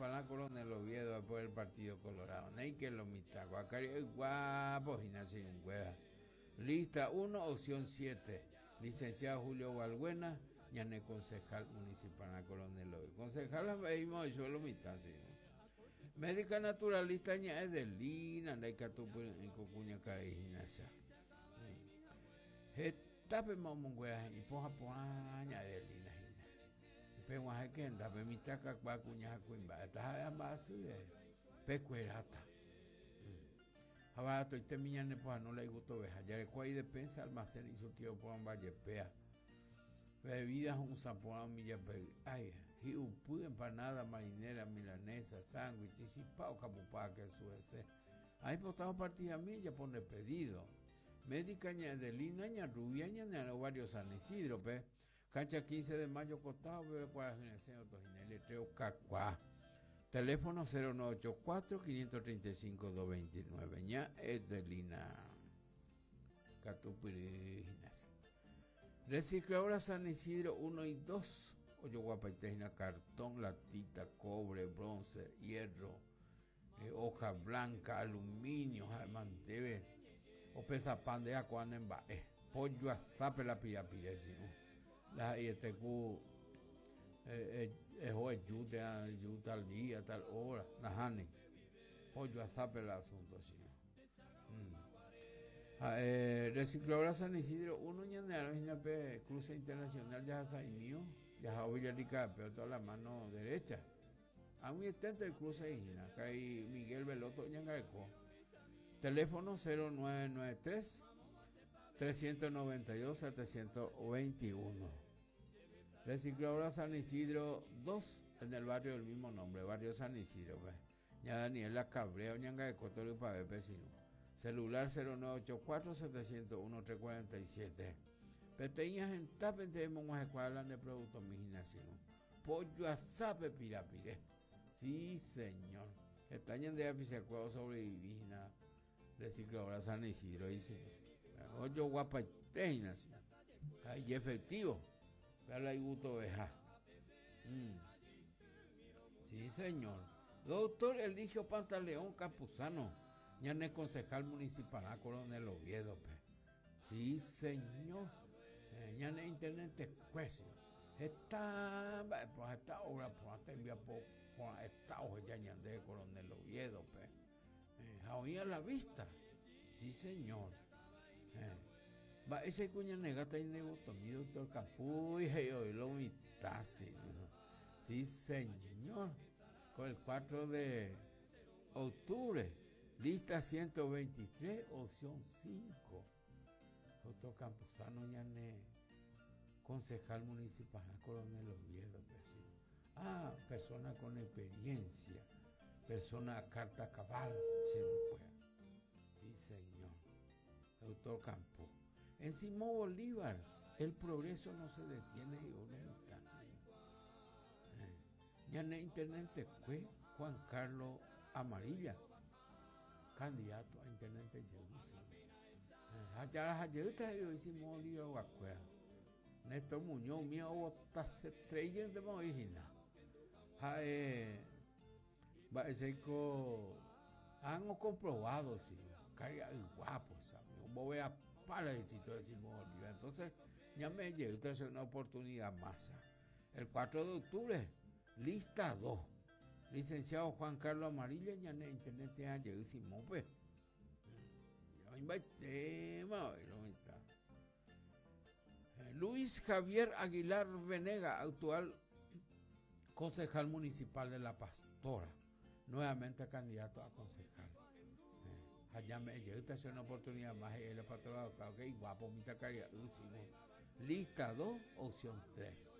municipal Coronel Oviedo por el Partido Colorado. Néike lo mitã kua karia'y guapo hína che irũnguéra. Lista 1, opción 7. Licenciado Julio Balbuena, ñane concejal municipal Coronel Oviedo. Concejal ha oichue lo mitã che irũ. Médica naturalista ña Edelina ndaikatupyry'ỹi ko kuñakarai hína cha. Hetápema omonguera he'i pohã porã ña Edelina hína. Peg̃uahẽke hendápe mitã kakuaa kuña ha kuimba'e taha'e ha mba'asy rehe, pekueráta. Ha baratoitémi ñanepohãno la igustoveha. Jareko idespensa, almacén isurtido porãmba jepéa. Bebida ho'ysã porã umi japery'ái. Hi'upy, empanada, marinera, milanesa, sándwich, chipa okapupa kesu hese. Aipota opartidami ejapo nde pedido. Médica ña Edelina, ña Rubia, ñane arã barrio San Isidro-pe. Cancha 15 de mayo costado peve kuarahy resẽ otohina letrero kakuaa. Teléfono 0984 535 229 ña Edelina. Katupyry hína. Recicladora San Isidro 1 y 2 ojoguapaite hína cartón, latita, cobre, bronce, hierro, eh, hoja blanca, aluminio, ha'e mandéve opesapa nde akua ne mba'e. Pollo asápe la pirapire sino. La ha'eiete ku eh, eh, eho eju térã eju tal día, tal hora, nahániri. Pollo asápe la asunto sino. Mm. Ha'e Recicladora San Isidro 1 ñane arã hína pe cruce internacional jahasa'imío, jaha Villarrica pe toda la mano derecha. Ag̃uieténte oikrusa hína, karai Miguel Veloto oñangareko. Teléfono 0993 392 721. Recicladora San Isidro 2 en el barrio del mismo nombre, barrio San Isidro. Pues. Ña Daniela Cabrera oñangareko torypavépe sino. Celular 0984 701 347. Peteĩ ahentápente emog̃uahẽkuaa la nde productomi hína sino. Pojoasápe pirapire. Sí, señor. Heta ñande rapichakuéra osobrevivi hína recicladora San Isidro dice. Ojoguapaite hína, sí. Ha ijefectivo. Pero la igustoveha. Mm. Sí, señor. Doctor Eligio Pantaleón Campuzano, ñane concejal municipal Coronel Oviedo. Pe. Sí, señor. Eh, ñane intendente cuesio. Heta mba'e porã, heta obra porã, tembiapo porã heta oheja ñande Coronel Oviedo-pe. Eh, ha oĩ a la vista. Sí, señor. Eh, mba'éicha ikuñanegáta inevotomi doctor Capuy he'i oĩ lo mitã, sí. Sí, señor. Con el 4 de octubre, lista 123, opción 5. Doctor Campuzano ñane concejal municipal Coronel Oviedo pe sí. Ah, persona con experiencia, persona a carta cabal, si no puede. Sí, señor. Doctor Campo. En Simón Bolívar, el progreso no se detiene y uno está. Eh, ñane intendente fue Juan Carlos Amarilla. Candidato a intendente jeýsima. Ha jaraha jeýta he'i oĩ Simón Bolívar-guakuéra. Néstor Muñoz umi ovotasetrei jeýntema oĩ hína. Ha'e mba'éichaiko han ocomprobado si karia'y guapo sami omboverapa la distrito de Simón Bolívar. Entonces ñame'ẽ jeýta che una oportunidad más. El 4 de octubre, lista 2. Licenciado Juan Carlos Amarilla ñane intendente ha jey Simópe. Oĩmbaitéma oĩ lo mitã. Luis Javier Aguilar Venega, actual concejal municipal de La Pastora, nuevamente candidato a concejal. Ha ñame'ẽ jeýta che una oportunidad más he'i la pastora ok, guapo mitãkaria'y Simón. Lista 2, opción 3.